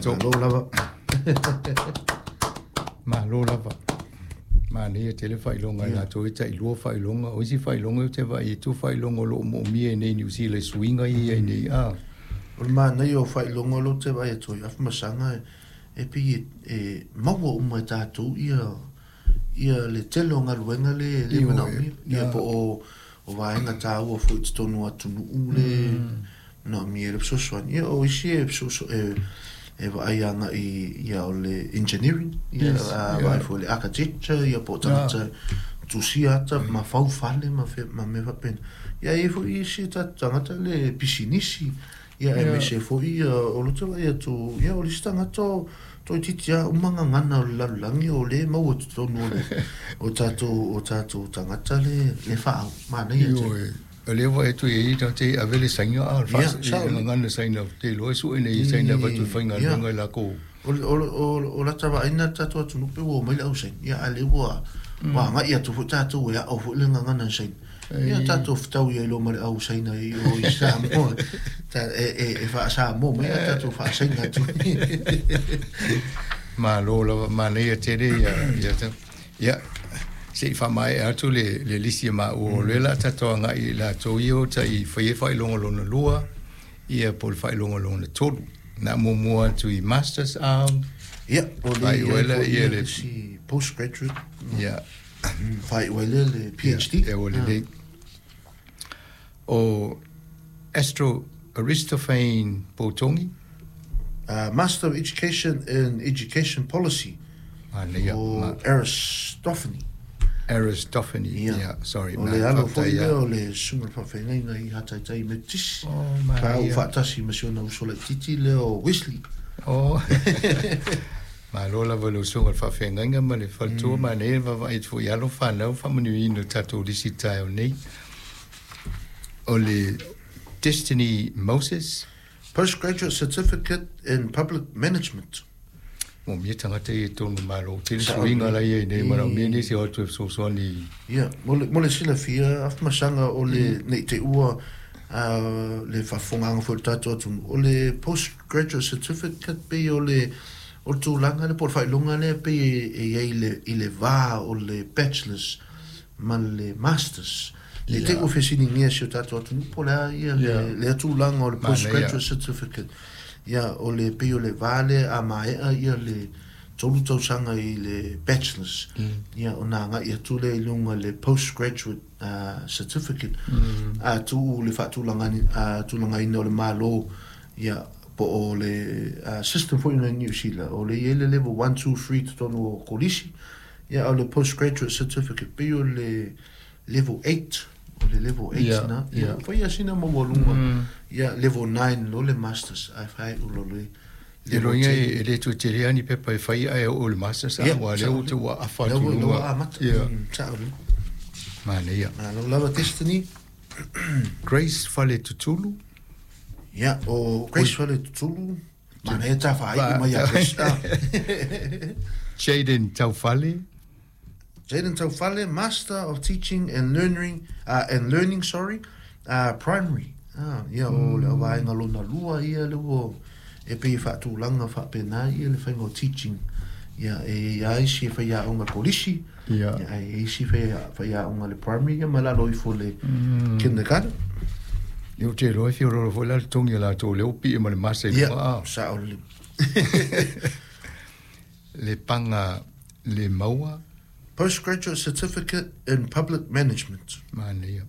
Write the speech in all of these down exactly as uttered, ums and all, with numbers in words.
Tatou. Malo lava. Malo lava. Manaia tele faailoga i latou e tailua faailoga. O isi faailoga ou te vaai atu faailoga o lo o moomia i nei Niu Sila i suiga ia i ai nei a. O le manaia o faailoga o lea ou te vaai atu ai Afamasaga e pei e, e maua uma e tatou ia ia le tele o galuega le le manaomia ia po o o vaega taua foi i totonu o atunuu le manaomia le fesoasoani ia o isi e fesoaso e e vaai agai ia o le engineering ia Yes, a yeah. vaai foi le architecture ia po o tagata tusia ata ma fau fale ma fe ma mea faapena ia e i ai foi isi tatou tagata le pisinisi ia Yeah. aemaise foi ia o lea ou te vaai atu ia o le isi tagata o toeitiiti lava uma gagana o le lalolagi o lea e maua i totonu o le o tatou o tatou tagata le le faaau manaia tele. Ioe, o lea vaai atu i ai tagata e ave le Saina a o le Ia, faas- sao le lelei. gagana Saina te iloa e sue nei Saina avatu e faigaluega Ia. i lakou. O le o le o le o lata vaaiga le tatou atunuu pe ua omai le au Saina ia a o lea ua ua agai atu foi tatou e ao foi le gagana Saina. Ia tatou fetaui ai loa ma le au Saina i o i Samoa ta e e e faa-Samoa mai ae tatou faa-Saina atu. Malo lava, manaia tele ia ia ta. Ia se i faamaea atu le le lisi a maua o lea o le a tatou agai i latou ia o tai fai ai faailoga lona lua ia po o le faailoga lona tolu. Na muamua atu i Masters Arm. Ia, o le Faaiu i ai ai lea foi ia ia le le isi postgraduate. Ia. Faaiu ai lea le PhD. Ia, ua lelei. O Astro Aristophane Poutogi. Uh, Master of Education in Education Policy. Manaia. O Ma, Aristophane. Aristophane, Ia. yeah, sorry. O le alo foi lea o le susuga i le faafeagaiga i Hataitai Metotisi. Oh, Sa ou manaia. faatasi ma si ona uso laitiiti lea o Wesley. Oh. Malo lava i lau susuga i le faafeagaiga ma le faletua, manaia le vaavaai atu foi i alo fanau faamanuiaina o le tatou lisi taeao nei. O le Destiny Moses. Postgraduate Certificate in Public Management. Moomia tagata ia i totonu o le Malo. Tele suiga la ia i nei, manaomia nisi o atu e fesoasoani. Ia, mo le, mo le silafia, Afamasaga o le, ne i te i ua le faafofogaaga foi o le tatou atunuu, o le Postgraduate Certificate pei o le, o le tulaga lea po o le faailoga lea pei e i ai i le, i le va o le Bachelors ma le Masters. Ne i te i ua fesiligia si o tatou atunuu po o le a ia le, lea tulaga o le Postgraduate Certificate. Ia, o le pei o le va lea a maea ia le tolu tausaga i le Bachelors, ia ona agai atu lea i luga i le Postgraduate Certificate, a tuu le faatulagaina o le Malo, ia, po o le system foi lena i Niu Sila, o lea e i ai le level one, two, three i totonu o kolisi, ia, a o le Postgraduate Certificate pei o le level eight, o le level eight na, ia, ua fai lava sina maualuga, ia, level nine loa le Masters, ae faaiu loa le E level loiga ten. e le toe tele lava ni pepa e fai ae oo i le Masters, a ua lea ua ua afa atu i luga. Lea ua amata, sao lelei. Manaia. Malo lava Destiny. Grace Faletutulu. Ia, o Grace Faletutulu, manaia ta faaiu mai ia Grace. Jaden Taufale. Jaden Taufale, Master of Teaching and Learning, uh, and Learning, sorry, uh, Primary. Ah, ia, o le vaega lona lua ia le ua e pei e faatulaga faapena ia le faiga o teaching. Ia, e i ai isi e faiaoga kolisi, Ia. ia, e i ai isi faiaoga le primary, ia ma lalo ifo le kindergarten. Ia, ou te iloa e fiorolo foi la le togi a latou lea ua pie ma le masa i Ia, luga, a. sao lelei. Le paga le maua. Postgraduate Certificate in Public Management. Manaia.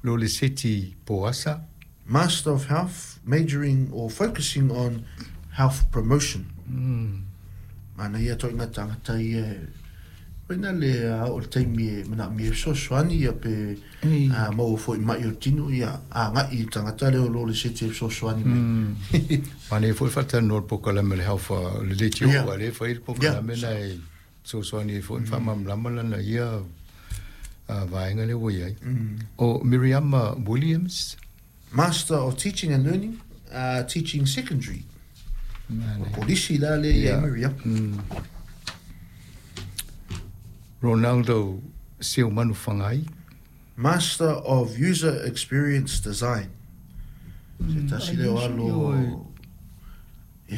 Lo le seti Poasa. Master of Health, majoring or focusing on Health Promotion. Manaia toʻiga tagata ia e koina le a oo i le taimi e manaomia ai fesoasoani ia pe a maua foi i maʻi o le tino ia agai i le tagata lea o lo le seti e fesoasoani mai. Manaia foi le faatalanoa i le polokalame o le Health o le Leitio Ia. ua lea e fai le polokalame na e fesoasoani ai foi ma faamalamalama lana ia vaega lea ua i ai. O Miriama Williams. Master of Teaching and Learning, uh, Teaching Secondary. O Kolisi la lea i ai Miriama. Ronaldo Seomanuwhangai. Master of User Experience Design. Se tasi lea o alo e